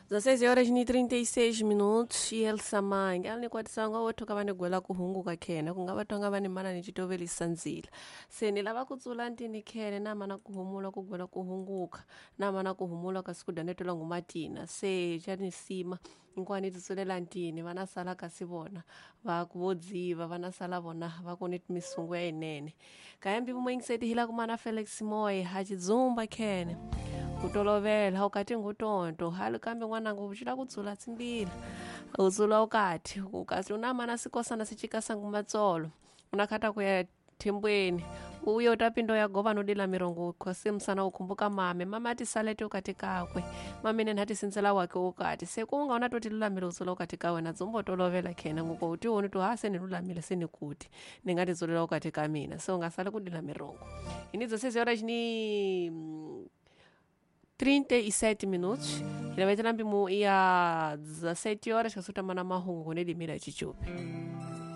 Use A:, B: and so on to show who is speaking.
A: 16 horas ni 36 minutos e Elsa Mange ali nikwatisa wothoka va ni gwela ku hunguka khene ku nga va tonga va ni mana ni citovelisa ndzila se ni lava ku tsula ntini khene na mana ku humula ku gwela ku hunguka na mana ku humula kasi ku danetela ngumatina se xa ni sima hinkwani ti tsulela ntini va na sala kasi vona va ku vo dziva va na sala vona va ku ni misungu ya yinene kayambi vumwengiseti hi la ku mana Felix Moy ha chidzumba khene ku tolovela ukati ngutonto hali kambe n'wananga u cila ku dzula tsimbila u dzula ukati ukasi una mana sikosana sicikasangu matsolo unakhata kuya thembweni uye utapindo ya gova nodila mirongo khose msana ukhumbuka mame mama ati salete ukati kakwe mamene nthati sinzela wake ukati sekunga unatoti lulamile udzula ukati ka wena dzumbo tolovela khena nguko utiwoni tu ha seni lulamile seni kuti ningatidzulela ukati ka mina se ungasali kudila mirongo ini 16 horas ni 37 minutos. Ila vai ter ia 17 horas que a sua mana mahungu ne limira chichupi.